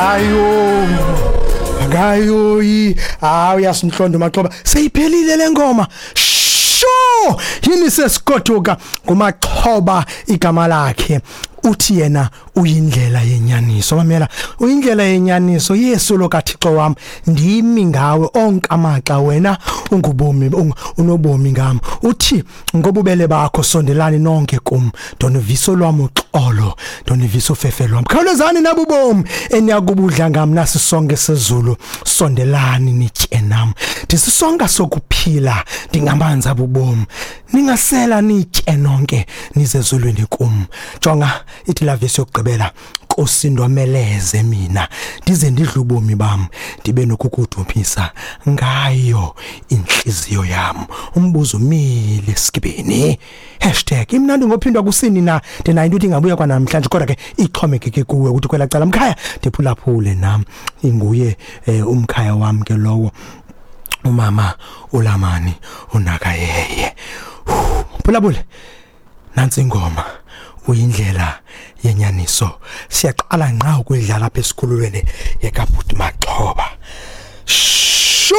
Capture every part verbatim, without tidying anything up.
Ayo ngayoyi, hayi, uyasinhlonda uMaxhoba, seyiphelile lengoma. Sho yini sesikotuka nguMaxhoba igama lakhe. Uthi yena uyindlela yenyaniso. Mamela, uyindlela yenyaniso, Yesu lo kaThixo wam, ndimi ngawe onke amaxa, wena ungubomi, unobomi ngam. Uthi ngobubele bakho sondelani nonke kum, ndonivisa lwam uxolo, ndonivisa ufefe lwam. Khawulezani nabubomi eniyakubudla ngam, nasi sonke sezulu, sondelani nitye nam. Ndisisonka sokuphila, ndingamanzi abubomi, ningasela nitye nonke nize ezulwini kum. Jonga ithi la vesi yokugqibela, Nkosi ndomeleze mina ndize ndidle ubomi bam, ndibe nokukudumisa ngayo inhliziyo yam. Umbuzo umile esikibeni, hashtag imnandi ngophindwa kusini na. Ndinayo into ithi ingabuya kwanamhlanje, kodwa ke ixhomekeke kuwe ukuthi kwela cala mkhaya ndiphulaphule nam. Inguye eh, umkhaya wam ke lowo, umama uLamani unakayeye. Phulaphule nansi ingoma, uyindlela yenyaniso. Siyaqala nqa ukuyidlala apha esikhululweni yekaBhuti Maxhoba. Sho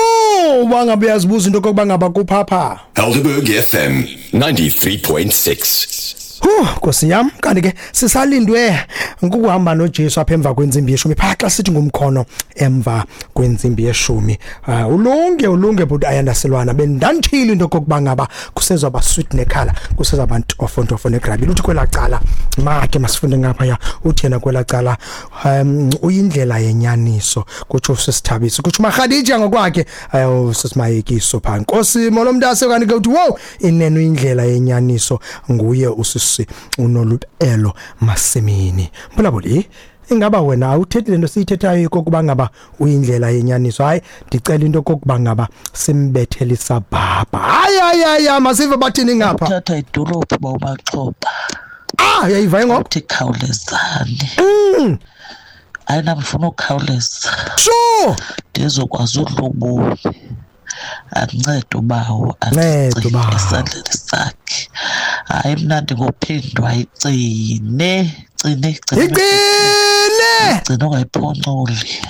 bangabe uyazibuza into kokuba ngaba kuphapha Helderberg F M ninety-three point six. Huh, Nkosi yam, kanti ke sisalindwe ukuhamba noJesu apha emva kwentsimbi yeshumi. Phaa xa sithi ngumkhono emva kwentsimbi yeshumi. Uh, ulunge ulunge but ayandaselwana bendandithile into kokuba ngaba kusezwa sweet nekhala, kusezwa ntofo ntofo negrabi. Uthi kwela cala, make masifunde ngapha ya, uthi yena kwela cala um uyindlela yenyaniso, kutsho sisithabisi, kutsho Mahadija ngokwakhe, ayo sisimayekiso pha. Nkosi molo mntase, kanti ke uthi wow, inene uyindlela yenyaniso, nguye usisi unolubelo masimini. Mbulabuli, ingaba wena awuthethi lento siyithethayo kokuba ngaba uyindlela yenyaniso? Hayi, ndicela into kokuba ngaba simbethelisa bhabha. Hayi hayi hayi, masive bathini ngapha. Uthatha idolophu bawumaxhoba. Ah, uyayiva ngoku. Uthi khawulezani. Mm. Hayi, nam ndifuna ukhawuleza. Sure. Ndizokwazi udla ubomi. Ancede ubawo. Nceda ubawo. Esandleni sakhe. Hayi, mnandi ngophindwa, igcine gcine gcine. Igcine. Gcine, ungayiphonculi.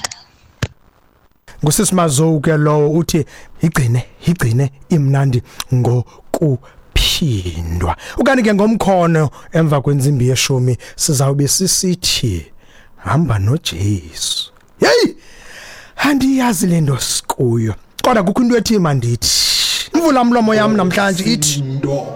Ngusisi Mazowu ke lowo, uthi igcine igcine, imnandi ngokuphindwa. Ukanti ke ngomkhono emva kwentsimbi yeshumi sizawube sisithi hamba noJesu. Hey, andiyazi le nto sikuyo, kodwa kukho into ethi mandithi imvula mlomo yam namhlanje ithi Ndo.